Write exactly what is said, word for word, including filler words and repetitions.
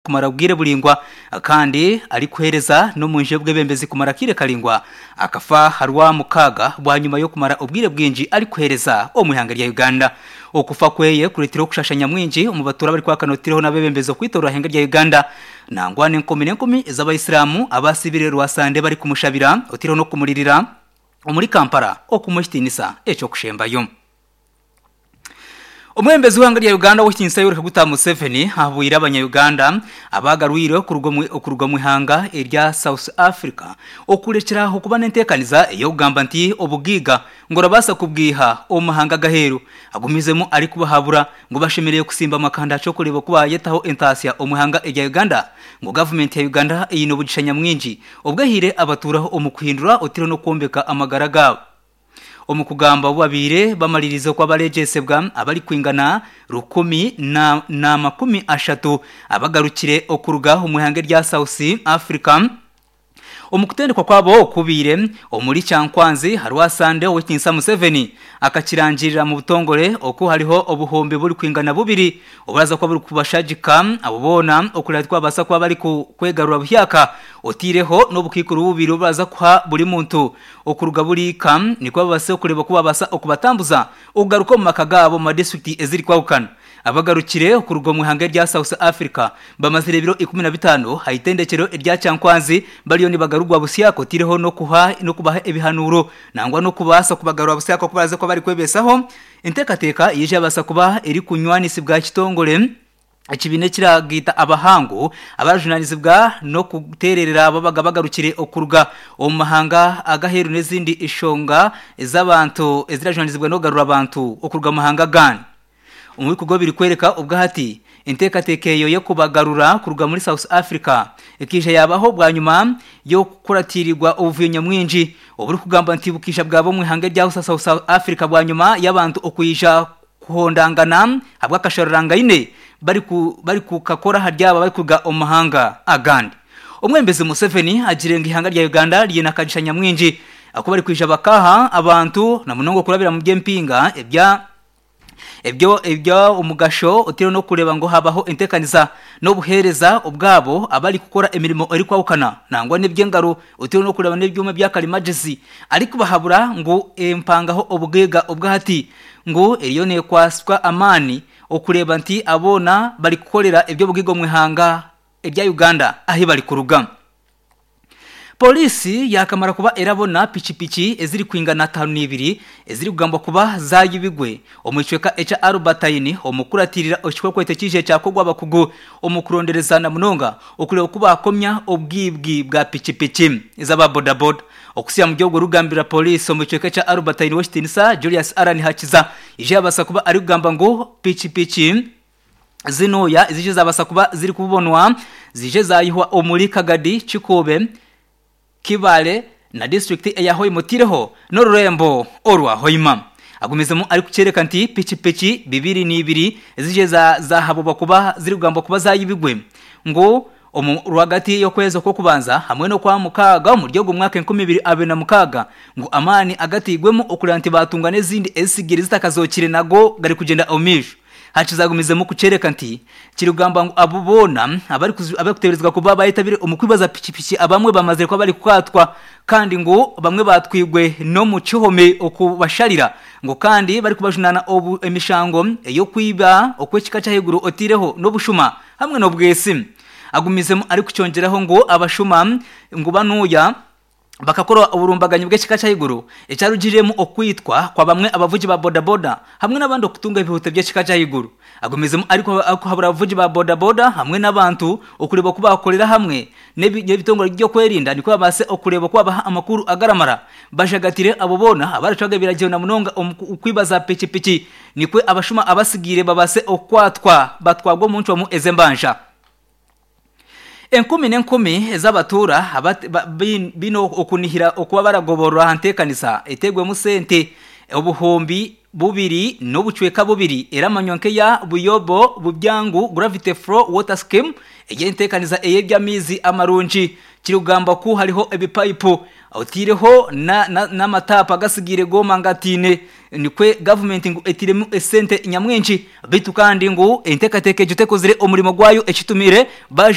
Kumara obwire buringwa kandi arikuheereza n'omunju y'obwebembezi kumara akaire karingwa akafa harwa mukaaga bwanyuma y'okumara obwire bwingi arikuheereza omu ihanga rya Uganda. Okufa kweye kureetire okushasha nyamwingi omu batuura abarikwakanotirireho n'abebembezi okwitorora ihanga rya Uganda nangwa n'enkumi n'enkumi ez'abaisiramu abasibire rwasande barikumushabira otiireho n'okumuririra omuri Kampala okumuha ekitiinisa eky'okushembayo. Omwebembezi w'eihanga rya Uganda ow'ekitiinisa Yoweri Kaguta Museveni ahabwire abanya-Uganda abagarwire okuruga omu ihanga erya South Africa okurekyera aho kuba n'enteekaniza ey'okugamba nti obugaiga ngu orabaasa kubwiha omu mahanga ag'aheeru. Agumizemu arikubahabura ngu bashemereire kusimba amakanda ky'okureeba oku bayetaho entaasya omu ihanga erya Uganda ngu gavumenti ya Uganda eine obugisha nyamwingi obwehaire abatuuraho omu kuhindura otiireho n'okwombeka amagara gaabo. Omu kugamba obu babaire bamaririize oku abaregyesebwa abarikwingana rukumi na na makumi ashatu abagarukire okuruga omu ihanga erya South Africa omu kutendekwa kwabo okubaire omuri Kyankwanzi aha Sande Ow'ekitiinisa Museveni akakirangirira mu butongore oku hariho obuhumbi burikwingana bubiri oburaza kuba burikubashagika abo boona okureba tikubabaasa kuba barikwegarura buhyaka otiireho n'obukaikuru bubiri oburaza kuha buri muntu okuruga buriika nikwo babaase okureeba oku babaasa okubatambuza okugaruka omu maka gaabo omu madisiturikiti ezirikwahukana. Abagarukire okuruga omu ihanga erya South Africa bamazire ebiro ikumi na bitaano aha itendekyero erya Kyankwanzi bariyo nibagarurwa busyaka otiireho n'okuha n'okubaha ebihanuuro nangwa n'okubaasa kubagarura busyaka oku baraze kuba barikwebeesaho. Enteekateeka yaija yabaasa kuba erikunywanisibwa kitongore ekibiina ekiragaita abahangu abarajunaanizibwa n'okuteererera ababaga bagarukire okuruga omu mahanga ag'aheeru n'ezindi nshonga ez'abantu ezirajunaanizibwa n'okugarura abantu okuruga omu mahanga agandi. Omu bikorwa birikworeka obwahati enteekateeka eyo y'okubagarura kuruga muri South Africa ekaija yaabaho bwanyima y'okukuratirirwa obuvuyo nyamwingi oburikugamba nti bukaija bwaba omu ihanga erya South Africa bwanyima y'abantu okwija kuhondangana ahabw'akasharurangaine barikukakora ahari abo abarikuruga omu mahanga agandi. Omwebembezi Museveni agire ngu eihanga rya Uganda riine akagisha nyamwingi aku barikwija bakaha abantu na munonga okurabira mu by'empinga ebya ebyo eby'omugasho otiireho n'okureeba ngu habaho enteekaniza n'obuheereza obwabo abarikukora emirimo erikwahukana nangwa n'eby'engaro otiireho n'okureeba n'ebyoma bya karimagyezi arikubahabura ngu empangaho obugaiga obwahati ngu eriyo neekwaswa amaani okureeba nti aboona barikukorera eby'obugaiga omu ihanga erya Uganda ahu barikuruga. Poliisi yaakamara kuba erabona pikipiki ezirikwingana ataano n'ibiri ezirikugambwa kuba zaayibigwe omu kicweka ekya Albertine omu kukuratirira ekikwekweto ekiije kyakorwa abakugu omu kuronderezana munonga okureeba oku baakomya obwibwi bwa pikipiki ez'aba bodaboda. Okusiya omuri ogwo rugambira poliisi omu kicweka ekya Albertine ow'ekitiinisa Julius Allan Hakiza ije yabaasa kuba arikugamba ngu pikipiki zinuuya ezije zabaasa kuba zirikubonwa zije zaayihwa omuri Kagadi, Kikuube, Kibale na disiturikiti eya Hoima otiireho n'orurembo orwa Hoima. Agumizemu arikukyereka nti pikipiki bibiri n'ibiri ezije zahabubwa kuba zirikugambwa kuba zaayibigwe ngu omu rwagati y'okwezi okw'okubanza hamwe n'okwa mukaaga omuri ogu mwaka enkumi ibiri abiri na mukaaga ngu amaani agatairwemu okureba nti baatunga n'ezindi ezisigire zitakazookire nago garikugyenda omu maisho. Hakizagumizemu kukyereka nti kirikugamba ngu abo boona abarikuteeberezibwa kuba bayetabire omu kwibaza pikipiki abamwe bamazire kuba barikukwatwa kandi ngu bamwe batwirwe n'omu kihome okubasharira ngu kandi barikubajunaana emishango ey'okwiba okw'ekika ky'ahaiguru otiireho n'obushuma hamwe n'obwesi. Agumizemu arikukyongyeraho ngu abashuma ngu banuuya bakakora oburumbaganyi bw'ekika ky'ahaiguru ekyarugiremu okwitwa kwa bamwe abavugi ba bodaboda hamwe n'abandi okutunga ebihuta by'ekika ky'ahaiguru. Agumizemu arikuhabura abavugi ba bodaboda hamwe n'abantu okureeba oku bakorera hamwe n'ebitongore by'okwerinda nikwo babaase okureeba oku babaha amakuru agaramara bashagatire abo boona abaracwaga ebiragiro na munonga omu kwiba za pikipiki nikwo abashuma abasigaire babaase okukwatwa batwarwe omu ncwamu ez'embanja. Enkumi n'enkumi ez'abatuura baine okunihira okuba baragoborora aha nteekanisa eteirwemu sente obuhumbi bubiri n'obucweka bubiri eramanywa nk'eya Buyobo Bubyangu Gravity Flow Water Scheme ey'enteekaniza ey'eby'amaizi amarungi kirikugamba ku hariho ebipayipu Otiireho n'amatapu agasigaire gooma ngataine nikwo gavumenti ngu etairemu esente nyamwingi beitu kandi ngu enteekateeka egyo tekozire omurimo gwayo ekitumire baaja.